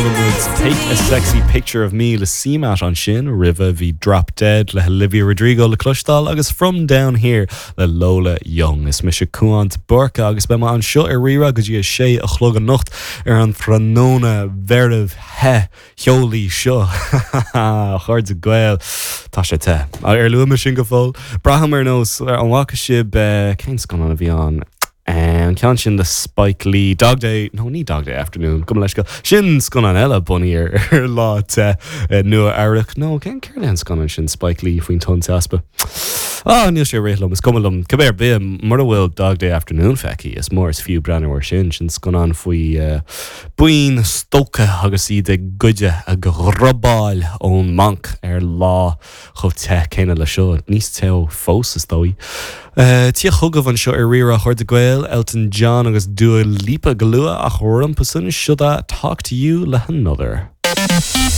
chuala muid Take a Sexy Picture of Me le CMAT ansin, roimhe bhí Drop Dead le hOlivia Rodrigo le cloisteáil agus From Down Here le Lola Young. Is mise Cúán de Búrca agus beidh mé anseo ar Rí-Rá go dtí a sé a chlog anocht ar an tráthnóna mheirbh the theolaí seo. A chairde Gael, tá sé te. Ar luaigh mé sin go fóill? Braithim ar nós, an bhfaca sibh, cén scannán a bhí ann? An ceann sin le Spike Lee, Dog Day, nó ní Dog Day Afternoon, gabh mo leithscéal, sin scannán eile bunaithe ar lá te i Nua Eabhrac, nó cén, céard é an scannán sin Spike Lee faoin tonn teaspa? Ah, níl sé ag rith liom, is cuma liom, cibé ar bith, mura bhfuil Dog Day Afternoon feicthe, is mór is fiú breathnú air sin, sin scannán faoi buíon stócach agus iad ag goideadh, ag robáil ón mbanc ar lá chomh te céanna le seo, níos teo fós is dóigh. Tíocht chugaibh anseo ar Rí-Rá a chairde Gael, Elton John agus Dua Lipa go luath ach rompu san, siod é Talk to You le hAnother.